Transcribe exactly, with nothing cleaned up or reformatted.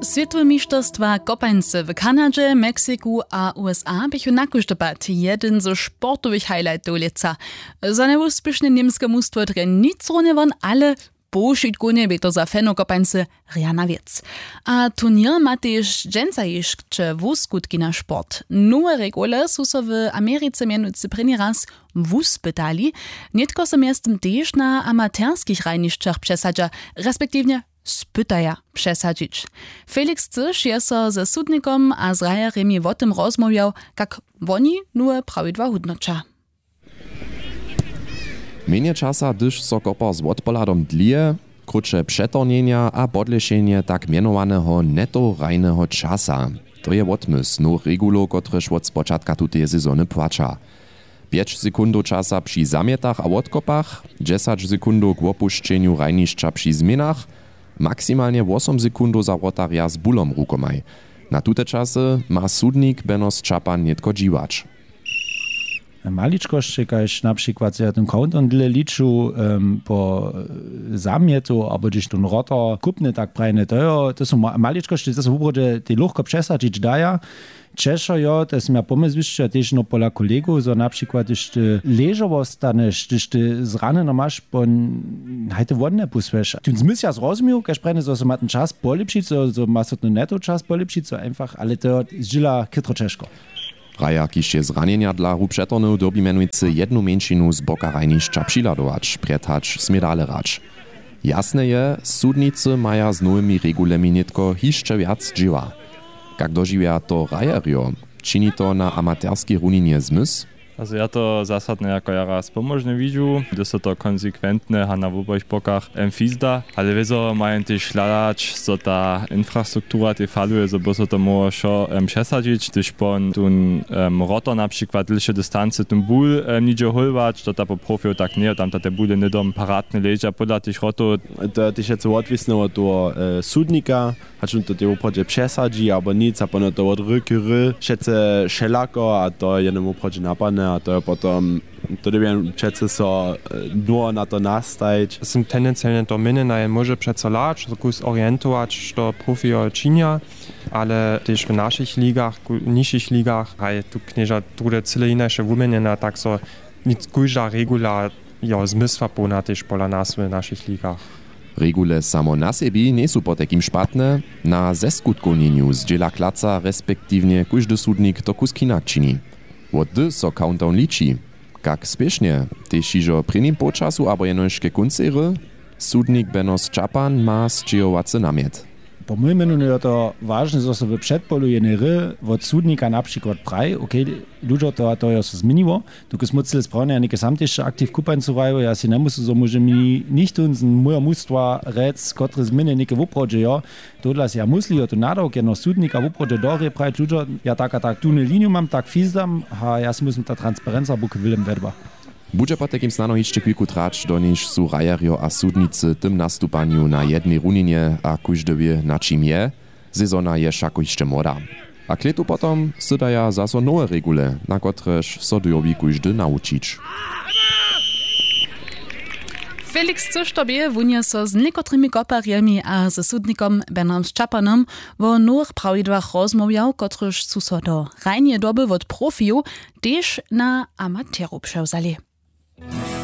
Swětowe mišterstwa kopańcy w Kanadźe, Meksiku a U S A běchu na kóždy pad jedyn ze sportowych highlightow lětsa. Za njewuspěšne němske mustwo drje nic runje won, ale powšitkowne bě to za fanow kopańcy rjana wěc. A turněr ma tež dźensa hišće wuskutki na sport. Nowe regule su so w Americe mjenujcy prěni raz wuspytali. Nětko so mjeztym tež na amaterskich hrajnišćach přesadźa, respektiwnje spytaja přesadźić. Felix Cyš je so ze sudnikom a z hrajerjemi wo tym rozmołwjał, kak woni nowe prawidła hódnoća. Mjenje časa, hdyž so kopa z wotpohladom dlije, krótše přetornjenja a podlěšenje tak mjenowaneho netohrajneho časa. To je wotmysł nowych regulow, kotrež wot spočatka tuteje sezony płaća. Pjeć sekundow časa při zamjetach a wotkopach, dźesać sekundow k wopušćenju hrajnišća při změnach, maksimalnje wosom sekundow za wrotarja z bulom rukomaj. Na tute časy ma sudnik Benos Čapan nětko dźiwać. Maličkosće, kaž na přikład so ja ten countdown dlě liču, em, po, e, zamjetu abo hdyž ten rotor kupny tak prajny, to jo, to su ma- maličkosće, to su wubrodźe tej lochko přesadźić daja. Ćeša jo, to sym ja pomysł zwisćiła tež no pola kolegow, zo na přikład hdyž ty ležo wostaneš, hdyž ty zranjeno maš po hajte wodne pusłeš, tu zmysł ja zrozmił, kaž prajny zo so ma ten čas polěpšić, zo, zo ma so ten neto čas polěpšić, zo einfach, ale to jo zdźěla chytro ćežko. Hrajer, kiž je zranjenja dla hru přetornył, dyrbi mjenujcy jednu mjeńšinu z boka hrajnišća přihladować, prjed hač smě dale hrać. Jasne je, sudnicy maja z nowymi regulemi nětko hišće wjac dźěła. Kak dožiwja to hrajerjo? Čini to na amaterskej runinje zmysł? Also ja to zasadnje jako jara spomóžne widźu, hdyž so to konsekwentnje a na wobojich bokach, em, fizda, ale wězo mają tež hladać, zo ta infrastruktura tej faluje, zo by so to móhło wšo, em, přesadźić, hdyž po tón, em, rotor na přikład dlěše distancy tón bul, em, nihdźe hólwać, to ta po profijow tak njeje, tam ta te bule hnydom paradnje leža podla tych rotow. To je tež wjace wotwisne wot toho, e, sudnika, hač wón to tej woprawdźe přesadźi abo nic, a pona to wot r k r wšetce wšelako, a to je jenož woprawdźe napadne, a to je potom, to dyrbi jen přeco so, e, dnjowo na to nastajić. Sym tendencielnje to měnjena, jen móže přeco hlać, so kus orientować, što profijo činja, ale tež w našich ligach, ku- nižšich ligach, haj, tu knježa druhde cyle hinaše wuměnjena, tak so nic, kóžda regula jo zmysłapołna tež pola nas w našich ligach. Regule samo na sebi njejsu potajkim špatne, na zeskutkowninju zdźěla klaca, respektiwnje kóždy sudnik to kusk hinak čini. Wot hdy so countdown liči? Kak spěšnje? Tež hižo w prěnim połčasu abo jenož ke kóncej hry? Sudnik Benos Čapan ma sćěhowacy namjet. Po mójim měnjenju je to wažne, zo so w předpolu jenej hry wot sudnika na přikład praji, okay, ludźo, to a to jo so změniło. Dokelž móhł cyle sprawnje a něke sam tež aktiv kupańcu hraju, ja sej njemyslju, zo móže mi nichtó z mojeho mustwa rjec, kotre změny něke woprawdźe jo. Tohodla sej ja mysli, jo, tu nadawk jedno sudnika woprawdźe do hry prajić, ludźo, ja tak a tak tunu liniju mam, tak fizdam, a ja sej muslim ta transparenca buke wylem wedła. Budźe potajkim snano hišće chwilku trać, doniž su hrajerjo a sudnicy w tym nastupanju na jednej runinje a kóždy wě, na čim je. Sezona je wšako hišće młoda. A k lětu potom sydaja zaso nowe regule, na kotrež so dyrbi kóždy nawučić. Felix Cyš to bě, wón je so z někotrymi koparjemi a ze sudnikom Bernardom Čapanom wo nowych prawidłach rozmołwjał, kotryž su so do hrajneje doby wot profijow tež na amaterow přewzali.